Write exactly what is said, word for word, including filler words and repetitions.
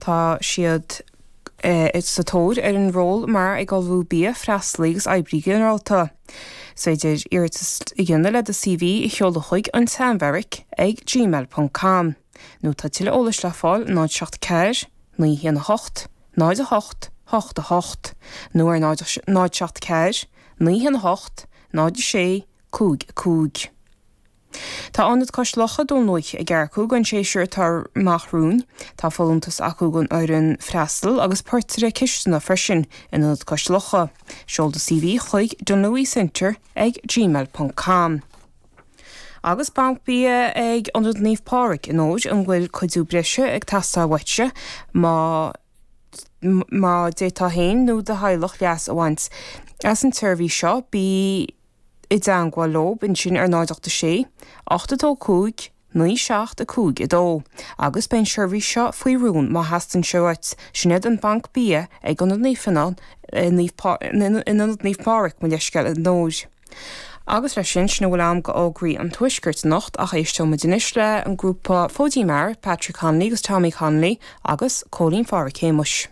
Tá siad sa tóir ar an ról mar ag ullmhú bia, freastalaí agus oibrí ginearálta. Is féidir iarratas a dhéanamh le do CV a sheoladh chuig an tSeanbheairic ag gmail.com. Nó tá tuilleadh eolais le fáil náid seacht ceathair, naoi haon a hocht, náid a hocht, hocht a hocht, nó ar náid náid seacht ceathair, naoi haon a hocht, náid a sé, cúig a cúig. Tá Ionad Cois Locha Dún Lúiche ag earcú don séasúr atá amach romhainn. Tá folúntas acu don fhoireann freastail agus portaire cisteanaí freisin in Ionad Cois Locha. Seol do CV chuig dunlewycentre ag gmail.com. Agus banc bia ag Ionad Naomh Pádraig in Óir an bhfuil cuidiú breise ag teastáil uaitse má má d'fhéadfá féin nó do theaghlach leas a bhaint as an tseirbhís seo bí i dteagmháil leo ansin ar náid ocht a sé, ocht a dó cúig, naoi seacht a cúig a dó, agus beidh an seirbhís seo faoi rún má theastaíonn sé uait, sin iad an banc bia ag Ionad Naomh Fionnán in Ionad Naomh Pádraig mo leithscéal in Óir. Agus leis sin sin a bhfuil agam d'fhógraí an tuaiscirt anocht ach éisteoimid anois le an grúpa Fóidín Mear, Patrick Connolly agus Tommy Connolly agus Cóilín Phádraic Shéamuis.